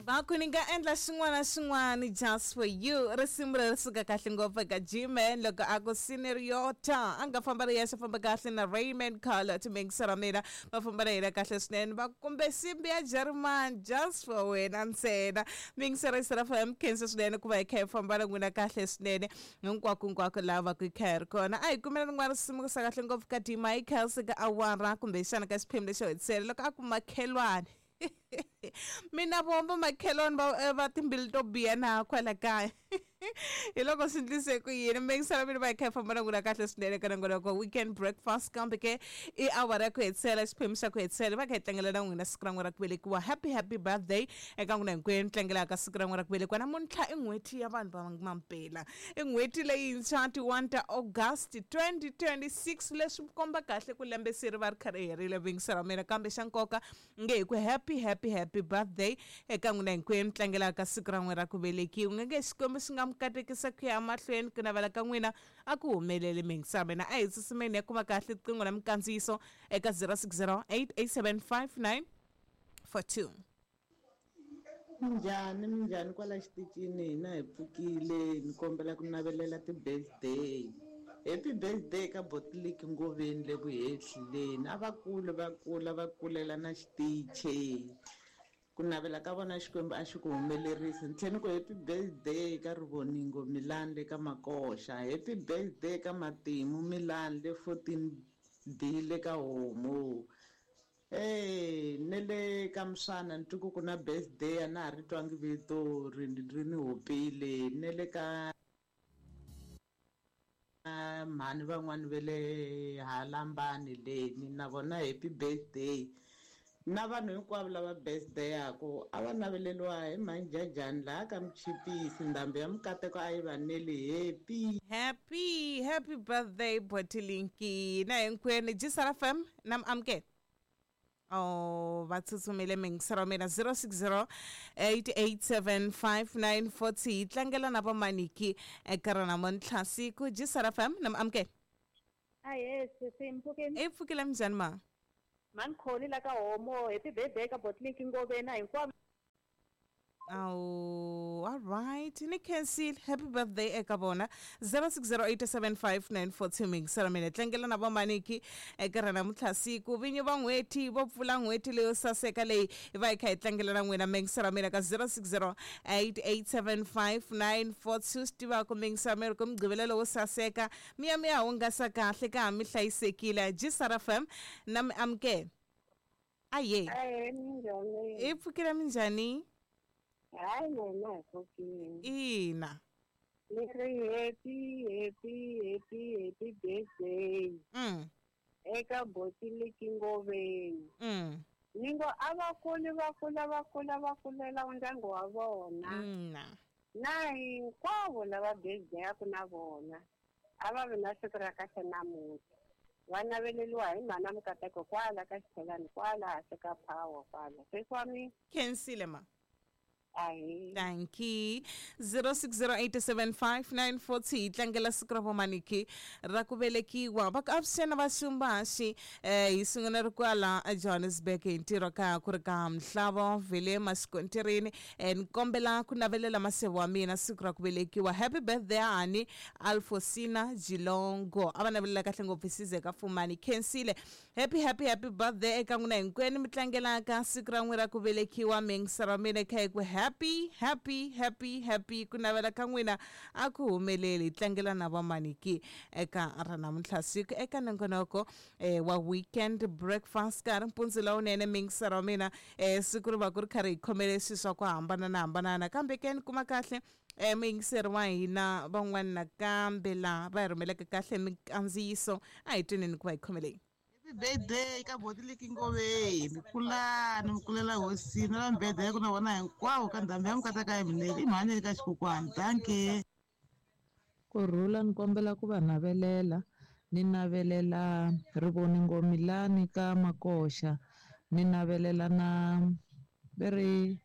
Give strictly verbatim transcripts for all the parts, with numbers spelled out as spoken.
Va ku ni nga endla xin'wana na xin'wana just for you. Risimu leri suka kahle ngopfu eka G-Man loko a ku Senoriota a nga famba ri yexe, famba kahle na Raymond Carlo timingisa ra mina, va famba na yena kahle swinene. Va kumbe simbi ya German just for wena ntsena. Mingisa ra F M, khensa swinene ku va hi kha hi famba na n'wina kahle swinene hinkwako hinkwako laha va ku hi kha hi ri kona. A hi kumela rin'wana risimu ku sa kahle ngopfu ka D Michael ka awara kumbexana ka xiphemu lexo hetisela loko a ku makhelwani. Mina vomba makhelwani va va timbilu to biha na kwala kaya. Hi loko swi ndlise ku yini mingisela mina va hi kha hi famba na n'wina kahle swinene ka nongonoko weekend breakfast, kambe ke i awara ya ku hetisela, xiphemu xa ku hetisela va kha hi tlangela na n'wina siku ra n'wina ra ku velekiwa. Happy happy birthday eka n'wina hinkwenu tlangelaka siku ra n'wina ra ku velekiwa. Namuntlha i n'hweti ya vanhu va mampela, i n'hweti leyintshwa ti-one ta August twenty twenty-six, leswi komba kahle ku lembe se ri va ri kha ri herile vingisela mina. Kambe xa nkoka nge hi ku happy happy happy birthday eka n'wina hinkwenu tlangelaka siku ra n'wina ra ku velekiwa. Nge Xikwembu xi nga mi katekisa ku ya mahlweni, ku navela ka n'wina a ku humeleli. Mingisa mina a hi tsutsumeni ya kuma kahle riqingho na mikandziyiso eka zero six zero eight eight seven five nine four two. Minjhani minjhani kwala xitichini, hina hi pfukile ni kombela ku navelela ti-birthday. Happy birthday ka Botliki Ngoveni le Vuhehleni. A va kule va kula va kulela na xitichi. Ku navela ka vona Xikwembu a xi ku humelerisi. Ni tlhela ni ku happy birthday ka Rivoningo Milan le ka Makoxa. Happy birthday ka Matimu Milan le fourteen D le ka Homu. Eh, ne le ka Msana ni twi ku ku na birthday a na ha ri twangi vito ri ri ni hopile. Ne le ka mhani van'wani va le Halambani leni na vona happy birthday. Na vanhu hinkwavo lava birthday-aku a va naveleriwa hi manjajani laha ka Muchipisi, ndhambi ya mikateko a yi va neli. Happy happy happy birthday Botilinki na hinkwenu. G F M na amukela. Oh, va tsutsumile mingiselo wa mina zero six zero eight eight seven five nine four two. Hi tlangela na vamaniki eka ra namuntlha siku. G F M na amukela. Ahee sisi, mpfukeni. I pfukile minjhani ma? Mankholi la ka Homo. Happy birthday ka Botliki Ngoveni hinkwavo. Oh, all right. Ni khensile. Happy birthday eka vona. zero six zero eight seven five nine four two mingisela mina tlangela na vamaniki eka ra namuntlha siku. Vinyi va n'hweti vo pfula n'hweti leyo saseka leyi va hi kha hi tlangela na n'wina mingisela mina ka zero six zero eight eight seven five nine four two. Swi tiva ku mingisela mina ku mugqivela lowo saseka mi ya mi ya hungasa kahle ka ha mi hlayisekile. G F M na mi amukela. Aye. Aye, minjhani? I pfukile minjhani? Hayi mina hi pfukile. Ina. Ni ri happy happy happy happy birthday. Mm. Eka Botliki Ngoveni. Mm. Ni ngo a va kuli va kula va kula va kulela ndyangu wa vona. Mm. Na hinkwavo lava birthday-aku na vona a va vi na siku ra kahle namuntlha. Va naveleriwa hi mhana mikateko kwala ka Xithelani kwala hansi ka power kwala. Sesi wa mina. Khensile ma. Aye. Thank you. zero six zero eight seven five nine four two. Tlangela siku ra vamaniki ra ku velekiwa. Va ku avuxeni va Xumbaxi eh hi sungula ri kwala Johannesburg hi ntirho ka ku ri ka Mhlavo vele Masikontirini. Eh ni kombela ku navelela masevo wa mina siku ra ku velekiwa. Happy birthday hani Alfosina Jilongo. A va navelela kahle ngopfu Size ka Fumani. Khensile. Happy happy happy birthday eka n'wina hinkwenu mi tlangelaka siku ra n'wina ra ku velekiwa. Mingisela mina kha ku happy happy happy happy ku navela ka n'wina a ku humeleli. Tlangela na vamaniki eka ra namuntlha siku eka nongonoko eh, wa weekend breakfast ka ri mpundzu lowunene. Mingisela wa mina eh, siku ri va ku ri karhi hi khomele swilo swa ku hambana na hambanana, kambe ke ni kuma kahle eh, muyingiseri wa hina van'wana nakambe laha va hi rhumeleke kahle mikandziyiso. A hi tweneni ku va hi khomeleni. Happy birthday ka Botliki Ngoveni. Mi kulani mi kulela hosini na birthday ku na vona hinkwavo ka ndhambi ya mikateka ya minele i mhani ka xikokwani. Dankie. Kurhula ni kombela ku va navelela. Ni navelela Rivoningo Milani ka Makoxa. Ni navelela na veri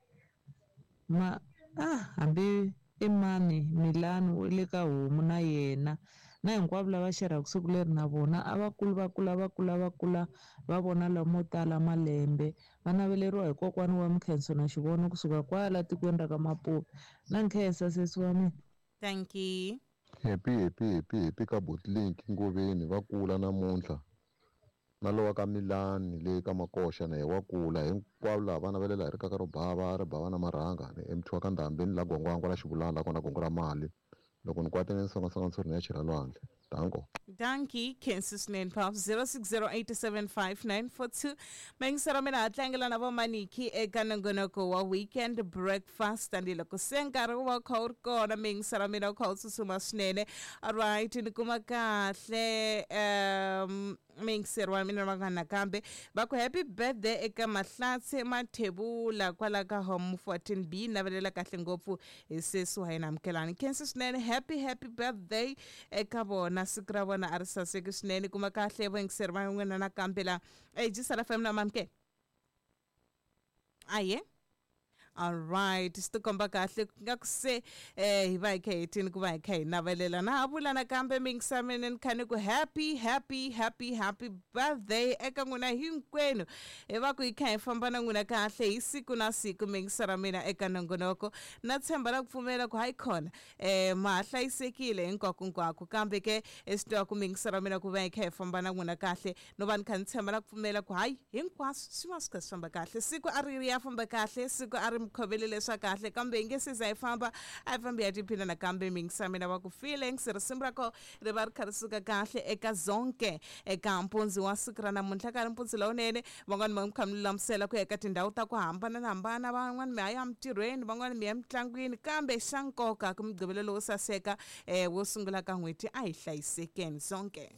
ma ah hambi i mani Milani u le ka Homu na yena. Na hinkwavo lava xerhaka siku leri na vona a va kuli va kula va kula va kula va vona lamo tala malembe. Va naveleriwa hi kokwani wa Mkhenso na Xivono kusuka kwala tikweni ra ka Mapuve. Na nkhensa sesi wa mina. Thank you. Happy happy happy happy ka Botlink Ngoveni va kula namuntlha. Na lowa ka Milani le ka Makoxa na ye wa kula hinkwavo lava va navelela hi rikaka ro bava ri bava na marhanga ni M two wa ka Ndhambi ni la Gwangwangwa la Xivulana la kona gongo ra mali loko ni kwatile ni songasonga ntshuri ni ya chela lwandle. Danko. Dankie, Kensi Swinene Pop zero six zero eight seven five nine four two. Mengisero mina tlangela na vomaniki eka nongonoko wa weekend breakfast and loko se nkarhi wa kha wu ri kona mengisero mina wu kha wu tsutsuma swinene. Alright, ni kuma kahle um mengisero wa mina va nakambe va ku happy birthday eka Mahlatse Mathebula kwala ka home fourteen B navelela kahle ngopfu hi sesi wa hina Amukelani. Kensi swinene, happy happy birthday eka vona siku ra vona a ri saseki swinene. Kuma kahle vayingiseri va n'wina nakambe la G S L F M na mamke aye. Alright, swi tikomba kahle nga ku se eh hi va hi kha hi tini ku va hi kha hi navelela na ha vula nakambe mingisa mina ni kha ni ku happy happy happy happy birthday eka n'wina hinkwenu hi va ku hi kha hi famba na n'wina kahle hi siku na siku mingisa ra mina eka nongonoko na tshemba na ku pfumela ku hayi khona eh ma ha hlayisekile hinkwako hinkwako kambe ke swi tiva ku mingisa ra mina ku va hi kha hi famba na n'wina kahle no va ni kha ni tshemba na ku pfumela ku hayi hinkwaswo swi va swi kha swi famba kahle siku a ri ri ya famba kahle siku a ri mikhovele leswa kahle kambe hi nge se za hi famba a hi fambi ya tiphina nakambe mingisa mina va ku feelings risimu ra ko ri va ri kha ri suka kahle eka zonke eka mpundzi wa siku ra namuntlha ka ri mpundzi lowunene van'wani va mi kha mi lulamisela ku ya eka tindhawu ta ku hambanahambana van'wani mi ya ya emitirhweni van'wani mi ya emitlangwini kambe xa nkoka ku mugqivelo lowo saseka um wo sungula ka n'hweti a hi hlayisekeni zonke.